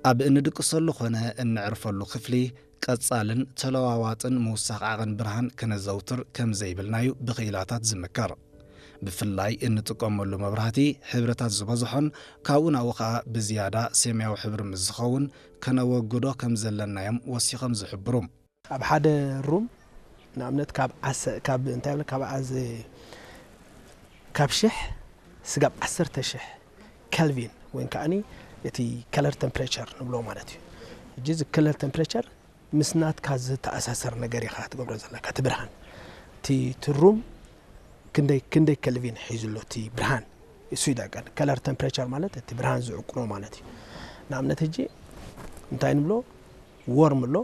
ኣብ እንድቅሰሉ ኾነ እንዕርፈሉ ክፍሊ ቀጻልን ተለዋዋጥን ምውሳኽ ዓቐን ብርሃን ከነዘውትር ከም ዘይብልና'ዩ ብኽኢላታት ዝምከር። ብፍላይ እንጥቀመሉ መብራህቲ ሕብርታት ዝበዝሖን ካብኡ ናብኡ ኸኣ ብዝያዳ ሰማያዊ ሕብሪ ምስ ዝኸውን ከነወግዶ ከም ዘለና'ዮም ወሲኾም ዝሕብሩ። ኣብ ሓደ ሩም ንኣብነት ካብ ዓሰ ካብ እንታይ ብለ ካብ ዓዘ ካብ ሽሕ ስጋብ ዓሰርተ ሽሕ ከልቪን ወይ ከዓኒ እቲ color temperature ንብሎ ማለት እዩ። ሕጂ እዚ color temperature ምስ ናትካ ዝተኣሳሰር ነገር ኢኻ ትገብሮ ዘለካ እቲ ብርሃን እቲ እቲ ሩም ክንደይ ክንደይ ከልቪን ሒዙ ኣሎ እቲ ብርሃን እሱ ይደቀን color temperature ማለት እቲ ብርሃን ዝዕቅኖ ማለት እዩ። ንኣብነት ሕጂ እንታይ ንብሎ warm ኣሎ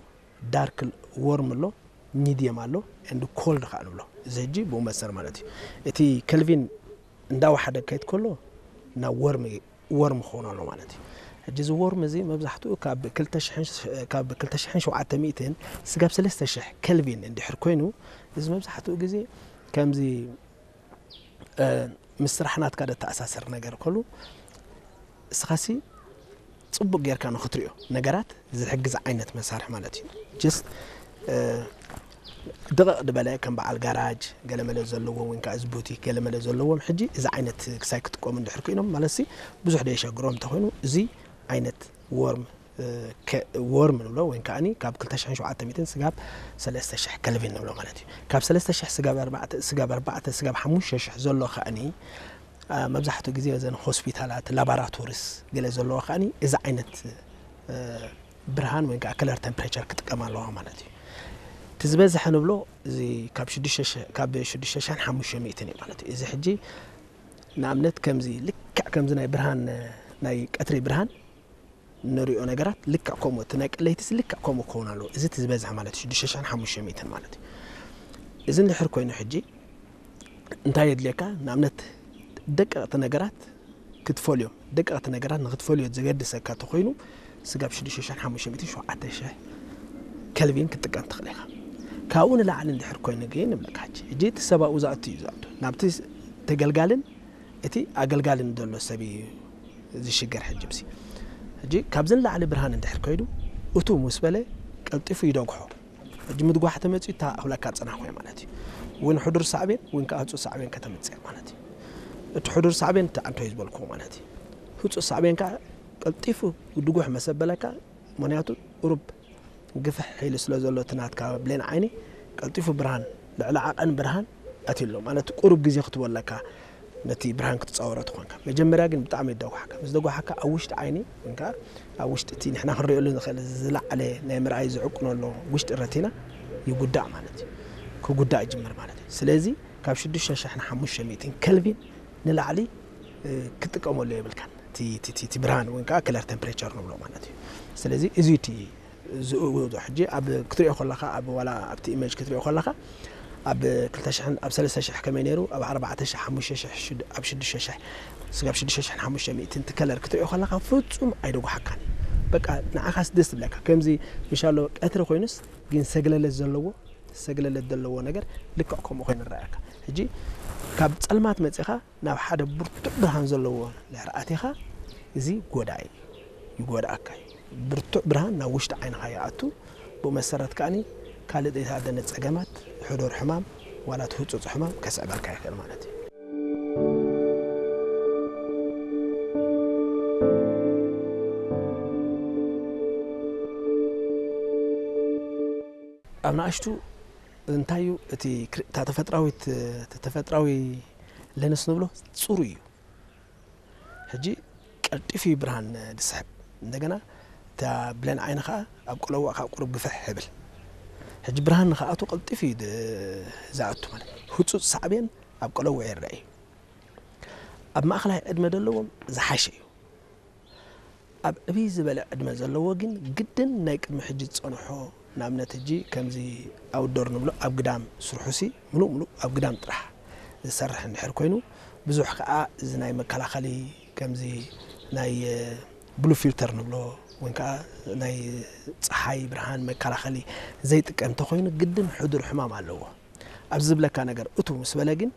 dark warm ኣሎ medium ኣሎ and cold ከዓ ንብሎ እዚ ሕጂ ብኡ መሰር ማለት እዩ። እቲ ከልቪን እንዳወሓደ ከይድ ከሎ ናብ warm warm ክኸውን ኣሎ ማለት እዩ። ሕጂ እዚ warm እዚ መብዛሕትኡ ካብ ክልተ ሽሕን ካብ ክልተ ሽሕን ሸውዓተ ሚእትን ስጋብ ሰለስተ ሽሕ ከልቪን እንድሕር ኮይኑ እዚ መብዛሕትኡ ግዜ ከምዚ ምስ ስራሕ ናትካ ደተኣሳሰር ነገር ከሉ እስኻሲ ጽቡቅ ጌርካ ንኽትሪኦ ነገራት ዝሕግዝ ዓይነት መሳርሒ ማለት እዩ። just ድቕቕ ዝበለ ከም በዓል ጋራጅ ገለመለ ዘለዎም ወይ ከዓ እዚ ቡቲክ ገለመለ ዘለዎም ሕጂ እዚ ዓይነት ክሳይ ክጥቀሙ እንድሕር ኮይኖም ማለት ሲ ብዙሕ ደየሸግሮም እንተኮይኑ እዚ ዓይነት ወርም ወርም ንብሎ ወይ ከዓኒ ካብ ክልተ ሽሕን ሸውዓተ ሚእትን ስጋብ ሰለስተ ሽሕ ከልቪን ንብሎ ማለት እዩ። ካብ ሰለስተ ሽሕ ስጋብ ኣርባዕተ ስጋብ ኣርባዕተ ስጋብ ሓሙሽተ ሽሕ ዘሎ ከዓኒ መብዛሕትኡ ግዜ እዘን ሆስፒታላት ላባራቶሪስ ገለ ዘለዎ ከዓኒ እዚ ዓይነት ብርሃን ወይ ከዓ color temperature ክጥቀም ኣለዋ ማለት እዩ። እቲ ዝበዝሐ ንብሎ እዚ ካብ ሽዱሽተ ሽሕ ካብ ሽዱሽተ ሽሕን ሓሙሽተ ሚእትን እዩ ማለት እዩ። እዚ ሕጂ ንኣብነት ከምዚ ልክዕ ከምዚ ናይ ብርሃን ናይ ቀትሪ ብርሃን ንሪኦ ነገራት ልክዕ ከምኡ እቲ ናይ ቀለይትስ ልክዕ ከምኡ ክኸውን ኣለዎ። እዚ እቲ ዝበዝሐ ማለት እዩ ሽዱሽተ ሽሕን ሓሙሽተ ሚእትን ማለት እዩ። እዚ እንድሕር ኮይኑ ሕጂ እንታይ የድልየካ ንኣብነት ደቀቕቲ ነገራት ክትፈልዮም ደቀቕቲ ነገራት ንክትፈልዮ ዘገድሰካ ተኮይኑ ስጋብ ሽዱሽተ ሽሕን ሓሙሽተ ሚእትን ሸውዓተ ሽሕ ከልቪን ክትጥቀም ትኽእል ኢኻ። ካብኡ ንላዕሊ እንድሕር ኮይኑ ግን ንብለካ ሕጂ ሕጂ እቲ ሰብ ኣብኡ ዝኣቱ እዩ ዝኣቱ ናብቲ ተገልጋልን እቲ ኣገልጋልን ዘሎ ሰብ እዩ ዝሽገር ሕጂ ብሲ ሕጂ ካብዚ ንላዕሊ ብርሃን እንድሕር ከይዱ እቱ ምስ በለ ቀልጢፉ ይደግሖ ሕጂ ምድጓሕ ተመፅኡ እታ ኣኽለካ ፅናሕ ወይ ማለት እዩ እውን ሕዱር ሳዕቤን እውን ከዓ ህፁፅ ሳዕቤን ከተምፅእ ማለት እዩ እቲ ሕዱር ሳዕቤን እቲ ዓንቶ እዩ ዝበልኩ ማለት እዩ ህፁፅ ሳዕቤን ከዓ ቀልጢፉ ድጉሕ መሰበለካ ምክንያቱ ቁሩብ ግፍሕ ኢሉ ስለ ዘሎ እቲ ናትካ ብሌን ዓይኒ ቀልጢፉ ብርሃን ልዕሊ ዓቐን ብርሃን ኣትሎ ማለት ቁሩብ ግዜ ክትበለካ ነቲ ብርሃን ክትፃወሮ ትኾንካ መጀመርያ ግን ብጣዕሚ ይደጓሓካ ምስ ደጓሓካ ኣብ ውሽጢ ዓይኒ ወይከዓ ኣብ ውሽጢ እቲ ንሕና ክንሪኦሉ ንኽእል ዝለዓለ ናይ ምርኣይ ዝዕቅኖ ኣሎ ውሽጢ ረቲና ይጉዳእ ማለት እዩ ክጉዳእ ይጅምር ማለት እዩ ስለዚ ካብ ሽዱሽተ ሽሕን ሓሙሽተ ሚእትን ከልቪን ንላዕሊ ክጥቀመሉ የብልካን እቲ ብርሃን ወይ ከዓ ክለር ቴምፕሬቸር ንብሎ ማለት እዩ ስለዚ እዚ እቲ ዝእውዶ ሕጂ ኣብ ክትሪኦ ከለካ ኣብ ዋላ ኣብቲ ኢሜጅ ክትሪኦ ከለካ ኣብ ክልተ ሽሕን ኣብ ሰለስተ ሽሕ ከመይ ነይሩ ኣብ ኣርባዕተ ሽሕ ሓሙሽተ ሽሕ ሽድ- ኣብ ሽዱሽተ ሽሕ ስጋብ ሽዱሽተ ሽሕን ሓሙሽተ ሚእትን እቲ ከለር ክትሪኦ ከለካ ፍጹም ኣይደጉሓካን በቃ ንዓኻስ ደስ ትብለካ ከምዚ ምሻሎ ቀትሪ ኮይኑስ ግን ሰግለለት ዘለዎ ሰግለለት ዘለዎ ነገር ልክዕ ከምኡ ኮይኑ ይረኣየካ ሕጂ ካብ ጸልማት መጺኻ ናብ ሓደ ብርቱዕ ብርሃን ዘለዎ ድሕሪ ኣቲኻ እዚ ጎዳኢ ይጎድኣካ እዩ። ብርቱዕ ብርሃን ናብ ውሽጢ ዓይንኻ ይኣቱ። ብኡ መሰረት ከኣኒ ካልእ ዘይተኣደነ ጸገማት፣ ሕዱር ሕማም ዋላ እቲ ህጹጽ ሕማም ከስዕበልካ ይኽእል ማለት እዩ። ኣብ ንኣሽቱ እንታይ እዩ እቲ ክር- እታ ተፈጥራዊት እቲ ተፈጥራዊ ለንስ ንብሎ ጽሩይ እዩ። ሕጂ ቀልጢፉ እዩ ብርሃን ዝስሕብ። እንደገና እታ ብሌን ዓይኒ ከዓ ኣብ ቆለዋእ ከዓ ቁሩብ ግፍሕ ይብል። ሕጂ ብርሃን ንክኣቱ ቀልጢፉ እዩ ድ- ዝኣቱ ማለት እዩ። ህፁፅ ሳዕቤን ኣብ ቆለዋእ ይረአ እዩ። ኣብ ማእኸላይ ዕድመ ዘለዎም ዝሓሸ እዩ። ኣብ ዕብይ ዝበለ ዕድመ ዘለዎ ግን ግድን ናይ ቅድሚ ሕጂ ዝፀንሖ ንኣብነት ሕጂ ከምዚ ኣውትዶር ንብሎ ኣብ ግዳም ስርሑሲ ምሉእ ምሉእ ኣብ ግዳም ጥራሕ ዝሰርሕ እንድሕር ኮይኑ ብዙሕ ከዓ እዚ ናይ መከላኸሊ ከምዚ ናይ ብሉ ፊልተር ንብሎ ወይ ከዓ ናይ ፀሓይ ብርሃን መከላኸሊ ዘይጥቀም እንተኮይኑ ግድን ሕዱር ሕማም ኣለዎ ኣብዚ ዝብለካ ነገር እቱ ምስ በለ ግን